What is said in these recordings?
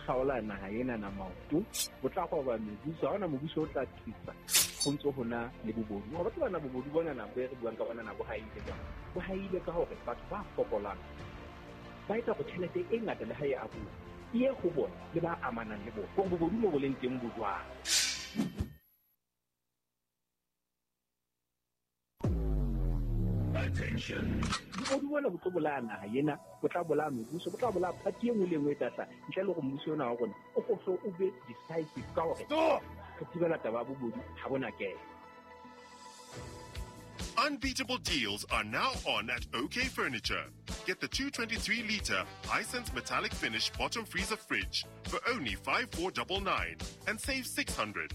kgaola naha ena na maoto, bo tla roba mebuso. Ha hona mobuso o tla thusa ho ntso hona le bobodu. Hore batho bana bobodu bona na bo re buang ka bona na bo haile jwang? Bo haile ka hore batho ba fokolang ba etsa hore tjhelete e ngata le ha e abuwa e ye ho bona le ba amanang le bona. Hore bobodu mo bo leng teng bo jwang? Bobodu bona bo tlo bolaya naha ena, bo tla bolaya mebuso, bo tla bolaya party e nngwe le e nngwe e tla hlaha ntle le hore mmuso ona wa rona o ko o be decisive ka hore re thibela taba ya bobodu ha bona kena. Unbeatable deals are now on at OK Furniture. Get the 223-litre Hisense metallic finish bottom freezer fridge for only 5499 and save 600.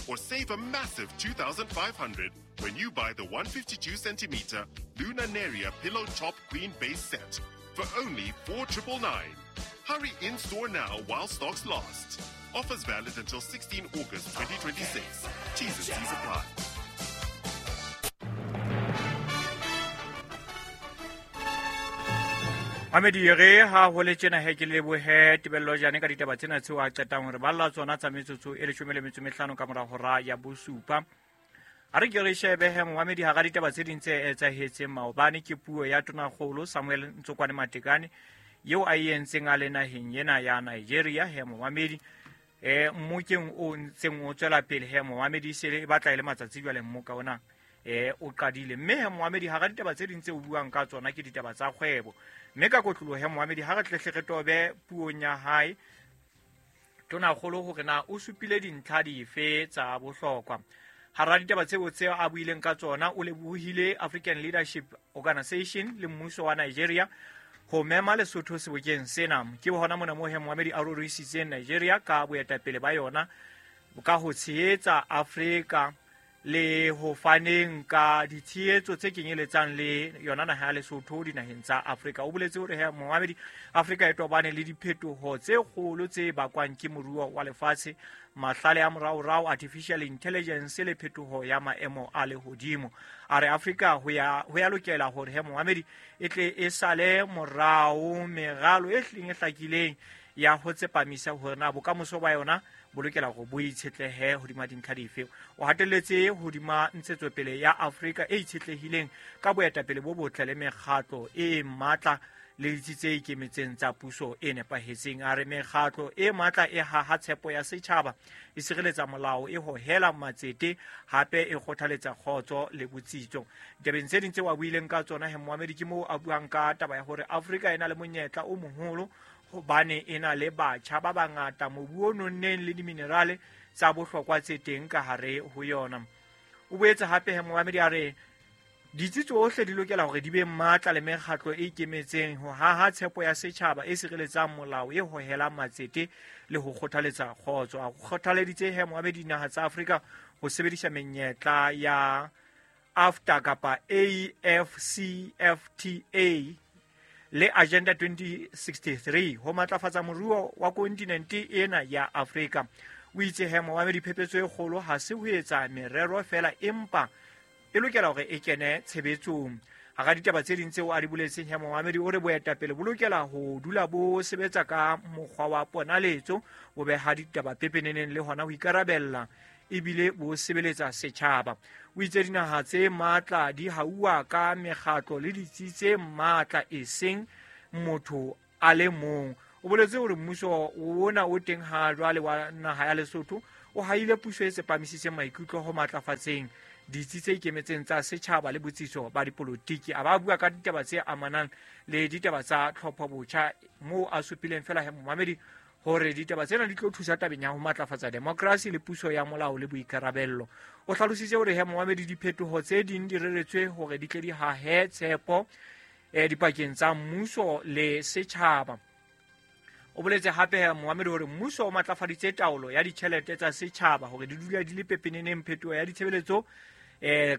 Or save a massive 2500 when you buy the 152-centimeter Luna Neria pillow top queen base set for only 4999. Hurry in store now while stocks last. Offers valid until 16 August 2026. T's and C's apply. Mamedi re ha ho le tjena he ke lebohe Tebello Jane ka ditaba tsena tseo a qetang hore balla tsona tsa metsotso e 15 ka mora hora ya bosupa. A re ke re shebe he momamedi hara ditaba tse ding tse etsahetseng maobane ke puo ya Tonakgolo Samuel Ntsokwane Matekane eo a e entseng a le naheng ena ya Nigeria he momamedi. Mmokeng o ntseng o tswela pele he momamedi se e batla e le matsatsi jwale mmoka ona o qadile. Mme he momamedi hara ditaba tse ding tse o buang ka tsona ke ditaba tsa kgwebo. Mme ka kotloloho he momamedi ha re tlehle re tobe puong ya hae Tonakgolo hore na o supile dintlha dife tsa bohlokwa. Hara ditaba tseo tse a buileng ka tsona o lebohile African Leadership Organization le mmuso wa Nigeria ho mema Lesotho sebokeng sena. Ke hona mona moo he momamedi a rorisitseng Nigeria ka boetapele ba yona ka ho tshehetsa Afrika le ho faneng ka ditshehetso tse kenyeletsang le yona naha ya Lesotho dinaheng tsa Afrika. O boletse hore he momamedi Afrika e tobane le diphetoho tse kgolo tse bakwang ke moruo wa lefatshe, mahlale a moraorao, artificial intelligence le phetoho ya maemo a lehodimo. A re Afrika ho ya lokela hore he momamedi e tle e sale morao meralo e hlileng e hlakileng ya ho tsepamisa hore na bokamoso ba yona bo lokela hore bo itshetlehe hodima dintlha dife. O hatelletse hodima ntshetsopele ya Afrika e itshetlehileng ka boetapele bo botle le mekgatlo e matla le ditsi tse ikemetseng tsa puso e nepahetseng. A re mekgatlo e matla e haha tshepo ya setjhaba, e sireletsa molao, e hohela matsete, hape e kgothaletsa kgotso le botsitso. Ditabeng tse ding tseo a buileng ka tsona he momamedi ke moo a buang ka taba ya hore Afrika e na le monyetla o moholo hobane e na le batjha ba bangata, mobu o nonneng le diminerale tsa bohlokwa tse teng ka hare ho yona. O boetse hape he momamedi a re ditsi tsohle di lokela hore di be matla le mekgatlo e ikemetseng ho haha tshepo ya setjhaba e sireletsang molao, e hohelang matsete le ho kgothaletsa kgotso. A kgothaleditse he momamedi dinaha tsa Afrika ho sebedisa menyetla ya AFTA kapa AfCFTA le Agenda 2063 ho matlafatsa moruo wa kontinente ena ya Afrika. O itse he momamedi phephetso e kgolo ha se ho etsa merero fela, empa e lokela hore e kene tshebetsong. Hara ditaba tse ding tseo a di boletseng he momamedi o re boetapele bo lokela ho dula bo sebetsa ka mokgwa wa ponaletso, bo beha ditaba pepeneneng le hona ho ikarabella ebile bo sebeletsa setjhaba. O itse dinaha tse matla di hauwa ka mekgatlo le ditsi tse matla eseng motho a le mong. O boletse hore mmuso ona o teng ha jwale wa naha ya Lesotho o haile puso e tsepamisitseng maikutlo ho matlafatseng ditsi tse ikemetseng tsa setjhaba le botsitso ba dipolotiki. A ba bua ka ditaba tse amanang le ditaba tsa tlhopho botjha moo a supileng fela he momamedi hore ditaba tsena di tlo thusa tabeng ya ho matlafatsa demokrasi le puso ya molao le boikarabello. O hlalositse hore he momamedi diphetoho tse ding di reretswe hore di tle di hahe tshepo dipakeng tsa mmuso le setjhaba. O boletse hape momamedi hore mmuso o matlafaditse taolo ya ditjhelete tsa setjhaba hore di dule di le pepeneneng. Phetoho ya ditshebeletso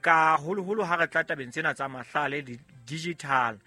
ka holoholo ha re tla tabeng tsena tsa mahlale le digital.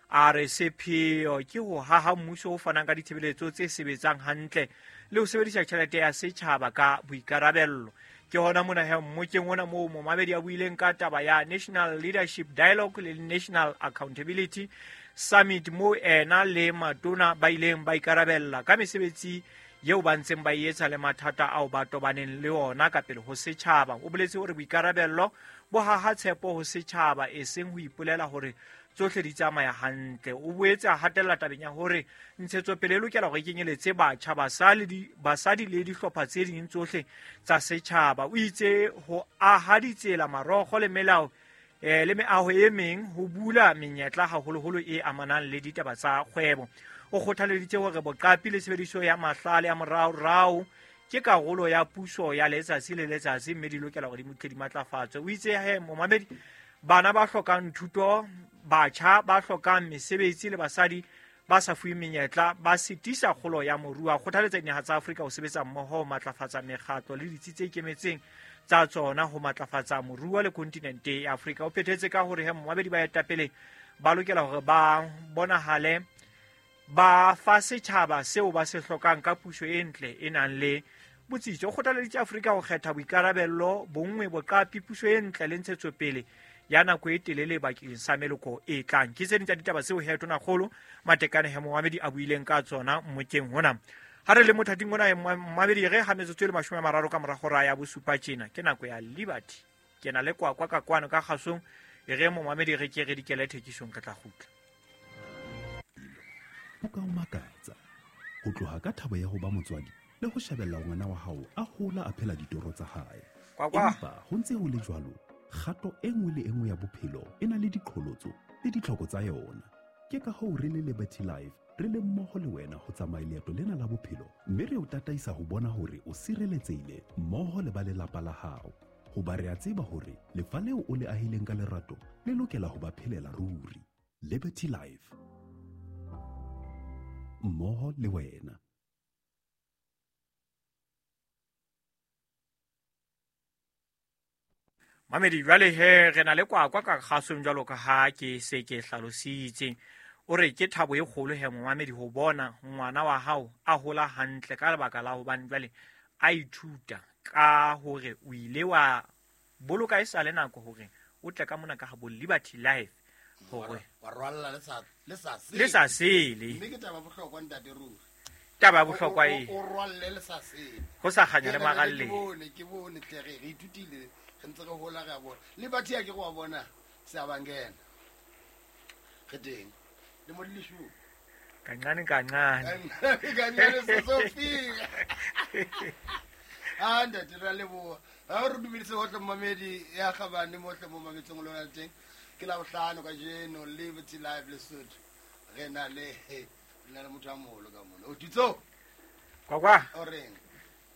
A re sepheo ke ho haha mmuso o fanang ka ditshebeletso tse sebetsang hantle le ho sebedisa tjhelete ya setjhaba ka boikarabello. Ke hona mona he mmokeng ona moo momamedi a buileng ka taba ya National Leadership Dialogue le National Accountability Summit moo ena le matona ba ileng ba ikarabella ka mesebetsi eo ba ntseng ba e etsa le mathata ao ba tobaneng le ona ka pele ho setjhaba. O boletse hore boikarabello bo haha tshepo ho setjhaba, eseng ho ipolela hore tsohle di tsamaya hantle. O boetse a hatella tabeng ya hore ntshetsopele e lokela hore e kenyeletse batjha, basadi le dihlopha tse ding tsohle tsa setjhaba. O itse ho aha ditsela, marokgo le melao le meaho e meng ho bula menyetla haholoholo e amanang le ditaba tsa kgwebo. O kgothaleditse hore boqapi le tshebediso ya mahlale a moraorao ke karolo ya puso ya letsatsi le letsatsi, mme di lokela hore di tle di matlafatswe. O itse he momamedi, bana ba hlokang thuto, batjha ba hlokang mesebetsi le basadi ba sa fuweng menyetla ba sitisa kgolo ya moruo. A kgothaletsa dinaha tsa Afrika ho sebetsa mmoho ho matlafatsa mekgatlo le ditsi tse ikemetseng tsa tsona ho matlafatsa moruo le kontinente ya Afrika. O phethetse ka hore he momamedi, baetapele ba lokela hore ba bonahale ba fa setjhaba seo ba se hlokang ka puso e ntle e nang le botsitso. O kgothaleditse Afrika ho kgetha boikarabello, bonngwe, boqapi, puso e ntle le ntshetsopele ya nako e telele bakeng sa meloko e tlang. Ke tse ding tsa ditaba tseo he Tonakgolo Matekane he momamedi a buileng ka tsona mmokeng hona. Ha re le mothating ona momamedi, re ha metsotso e le 30 ka mora hora ya bosupa tjena, ke nako ya Liberty. Ke na le kwakwa ka kwano ka kgasong, e re momamedi re ke re dikele thekisong, re tla kgutla. Ho ka o makatsa ho tloha ka thabo ya ho ba motswadi le ho shebella ngwana wa hao a hola a phela ditoro tsa hae. Empa ho ntse ho le jwalo, kgato e nngwe le e nngwe ya bophelo e na le diqholotso le ditlhoko tsa yona. Ke ka hoo re le Liberty Life re le mmoho le wena ho tsamaya leeto lena la bophelo, mme re o tataisa ho bona hore o sireletsehile mmoho le ba lelapa la hao. Hoba re a tseba hore lefa leo o le ahileng ka lerato le lokela ho ba phelela ruri. Liberty Life, mmoho le wena. Mamedi, jwale he re na le kwakwa ka kgasong jwalo ka ha ke se ke hlalositse. O re ke thabo e kgolo he momamedi ho bona ngwana wa hao a hola hantle ka lebaka la hobane jwale a ithuta ka hore o ile wa boloka e sa le nako hore o tle ka mona ka ha bo Liberty Life hore wa rwalla le sa sele. Mme ke taba bohlokwa ntate ruri. Taba bohlokwa e. O rwalle le sa sele. Ho sa kganya le magalle. Ke bone tle re ithutile, re ntse re hola re a bona. Liberty ya ke go bona se a bangena. Re teng. Le mo le shu. Kancane kancane. Kancane se so fika. Ah ntate ra leboha. Ha re dumedise hohle momamedi ya kgabane mohle mo mametseng lona teng. Ke la bohlano kajeno Liberty Life Lesotho. Re na le motho a moholo ka mona. O Ditso. Kwakwa. O reng?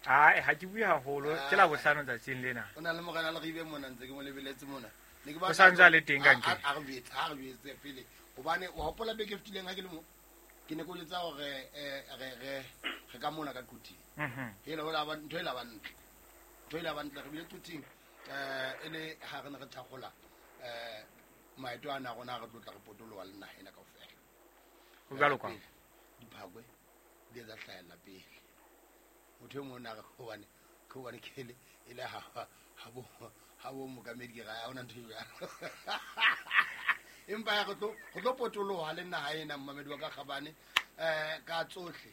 Ai ha ke bue haholo, ke la bohlano tsatsing lena. O na le morena le ribe mona ntse ke mo lebeletse mona. Ne ke ba sa ntse le teng ka nke. A re jwetse pele. Hobane o hopola beke fetileng ha ke le mo. Ke ne ke o jwetsa hore re ka mona ka Quthing. Hele hola ba ntho e la ba ntle. Ntho e la ba ntle re bile Quthing e le ha re ne re thakgola maeto ana a rona re tlotla re potoloha le naha ena kaofela. Ho jwalo kwa. Diphakwe di etsa hlahella pele. Motho e mong a re hobane ke le e le ha bo mokamedi ke ra ha ona ntho e jwalo. Empa ya re tlo potoloha le naha ena momamedi wa ka kgabane ka tsohle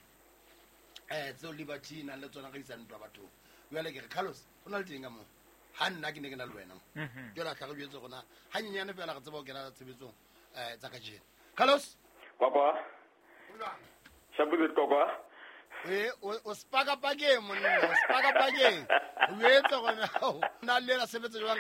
tseo Liberty nang le tsona re isa ntwa bathong. Jwale ke re Carlos o na le teng ka moo. Ha nna ke ne ke na le wena mo. Jwale a tla re jwetse rona hanyenyane fela re tseba ho kena tshebetsong tsa kajeno. Carlos Kwakwa. Shabuze kwakwa. O spaka pakeng monna, o spaka pakeng. O etse gona na le la sebetsa jwang